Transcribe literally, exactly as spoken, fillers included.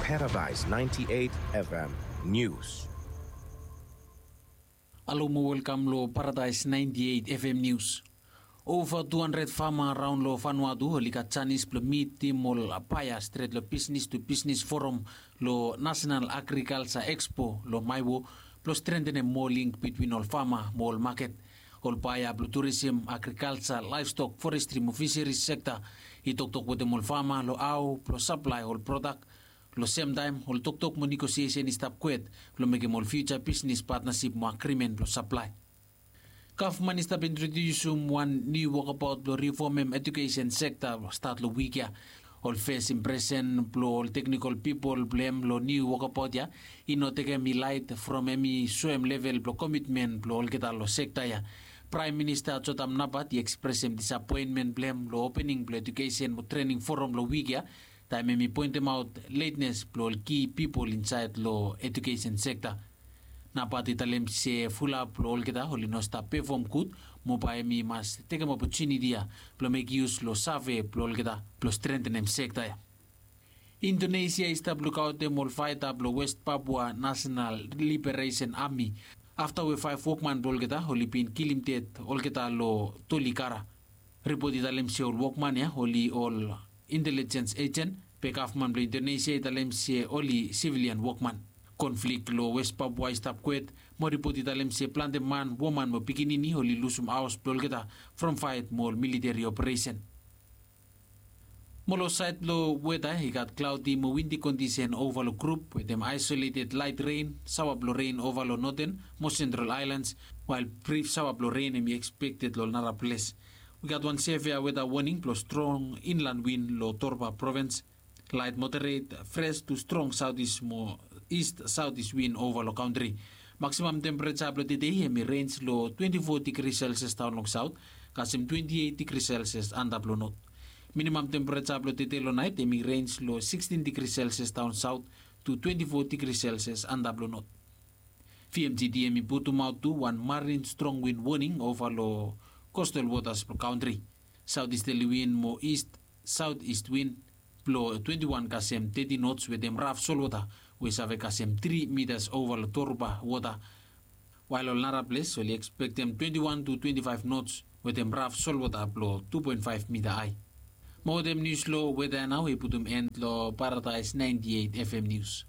Paradise ninety-eight F M News. Alo mo welkam lo Paradise ninety-eight F M News. Ova tu handred fama raon lo Vanuatu oli gat janis blo mitim ol baea stret lo Business to Business Forum lo National Agriculture Expo lo Maewo blo strentenem moa link bitwin ol fama mo ol maket. Ol baea blo turism, agrikalja, laevstok, forestri mo fiseris sekta i toktok wetem ol fama lo hao blo saplae ol prodak. Lo semtaem ol toktok mo negosiesen i stap kwet blo mekem ol fiuja bisnes patnasip mo agrimen blo saplae. Gavman i stap introdiusim wan niu wokabaot blo rifomem ejukesen sekta stat lo wik ya. Ol fes impresen blo ol teknikol pipol blo hem lo niu wokabaot ya i no tekem i laet from hem i soem level blo komitmen blo olgeta lo sekta ya. Praem Minista Jotam Napat i ekspresem disapoenmen blo hem lo opening blo ejukesen mo trening foram lo wik ya, taem hem i poentemaot letnes blo ol ki pipol insaed lo ejukesen sekta. Napat i talem se fulap blo olgeta oli no stap pefom gud, mo bae hem i mas tekem opotuniti ya blo mekem yus lo save blo olgeta blo strentenem sekta ya. Indonesia i stap lukaotem ol faeta blo West Papua National Liberation Army afta we faef wokman blo olgeta oli bin kilim ded olgeta lo Tolikara. Ripot i talem se ol wokman ya oli ol intelijens ejen, be gavman blo Indonesia i talem se oli sivilian wokman. Konflik lo West Papua i stap kwet, mo ripot i talem se plante man, woman mo pikinini oli lusum haos blo olgeta from faet mo ol militeri operesen. Mo lo saed blo weta i gat klaodi mo windi kondisen ova lo grup wetem aesoleted laet ren, saoa blo ren ova lo noten mo sentral aelans, wael brif saoa blo ren hem i ekspekted lo ol nara ples. Wi gat wan sevea weta woning blo strong inlan win lo Torba provins. Laet moderet fres tu strong saotis mo ist saotis win ova lo kantri. Maksimam tempereja blo tedei hem i renj lo twenti fo digri selsias daon long saot kasem twenti eit digri selsias antap lo not. Minimam tempereja blo tedei lo naet hem i renj lo sikstin digri selsias daon saot tu twenti fo digri selsias antap lo not. VMGD hem i putumaot tu wan marin strong win woning ova lo kostal wotas blo kantri. Saotisterli win mo ist saotist win blo twenti wan kasem teti nots wetem raf solwota we i save kasem tri mitas ova lo Torba wota. Wael ol nara ples oli ekspektem twenti wan tu twenti faef nots wetem raf solwota blo tu poen faef mita ae. Mo wetem nius lo weta ya nao i putum en lo Paradaes naenti eit FM nius.